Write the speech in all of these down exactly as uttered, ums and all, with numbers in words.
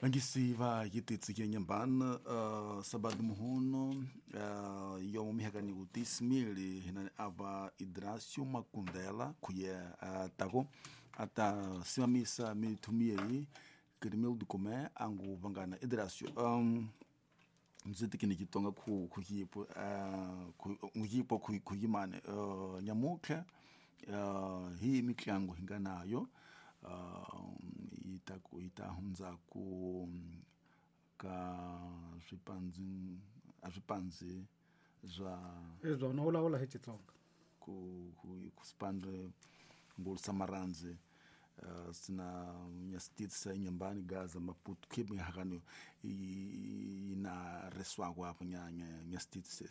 Vangisi va yititsi nyambana uh, sabado muhuno uh, yomo mihakani utismili hinani ava Idrasio Makundela kuye uh, tako ata simamisa mitumie Grimil do Comé angu vangana Idrasio um, mziti kini kitonga ku kuyipo uh, kuyipo kuyimane uh, nyamuke uh, hii miklangu hinganayo Uh, ita ita hunza ku ka swipanzi a swipanzi zwa ezwa no vulavula hi Xitsonga ku ku ku spandre ngul samaranzi uh, sina nyastitsa nyambani Gaza Maputo kibi hakano ina reswako apo nya nyastitsa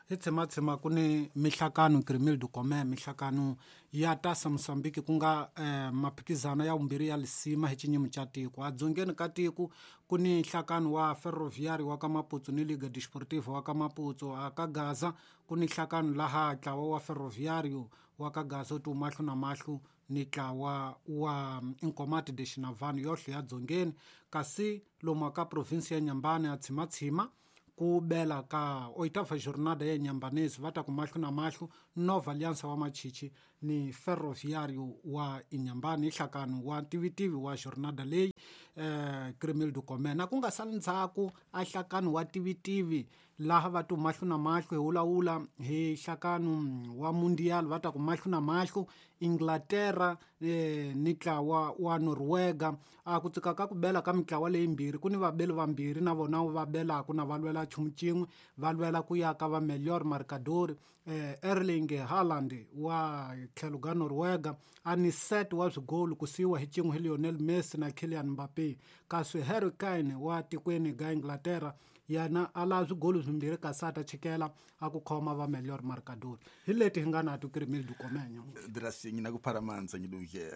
hi tshematshema ku ni mihlakano Grimil do Comé mihlakano ya tasa Mosambiki ku nga eh, maphikizano ya vumbirhi ya lisima hi xinyimi xa tiko. Adzongeni ka tiko ku ni nhlakano wa Ferroviário wa ka Maputo ni Liga Desportiva wa ka Maputo. A ka Gaza ku ni nhlakano laha ntlawa wa Ferroviário wa ka Gaza tu mahlo na mahlo ni ntlawa wa Inkomati de Xinavano yohle ya dzongeni. Kasi lomu ka provinsi ya Nyambani a tshimatshima ku bela ka oitava jornada ya Nyambanesi va ta ku mahlo na mahlo Nova Aliança wa Machichi ni Ferroviário wa Inhambane nhlakano wa tivitivi wa jornada leyi eh, Grimil do Comé. Na ku nga sali ndzhaku a nhlakano wa tivitivi laha va tu mahlo na mahlo hi wulawula hi nhlakano wa Mundial va ta ku mahlo na mahlo Inglaterra eh, ni ntlawa wa Noruega. A ku tsika ka ku bela ka mitlawa leyimbirhi ku ni vabeli vambirhi na vona va belaku na va lwela nchumu xin'we va lwela ku ya ka va melhor marcador eh, Erling Haaland wa tlhelo ka Noruega a ni set wa swigolo ku siyiwa hi xin'we hi Lionel Messi na Kylian Mbappe. Kasi Harry Kane wa tikweni ga Inglaterra yena a la swigolo swimbirhi kasi a ta chikela a ku khoma va melhor marcador. Hi leti hi nga na to Grimil do Comé Drasi ngina ku pharamanza ngiluke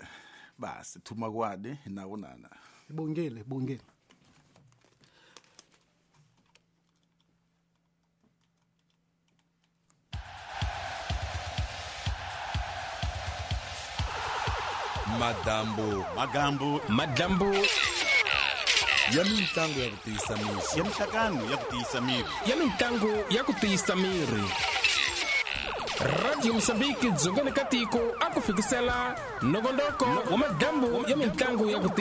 basi thuma kwade na wonana bongile bongile. Madambu magambu madambu ya mitlangu ya ku tiyisa miri ya mihlakano ya ku tiyisa miri ya mitlangu ya ku tiyisa miri. Radio Mosambiki dzongeni ka tiko a ku fikisela nongonoko wa madambu ya mitlangu ya ku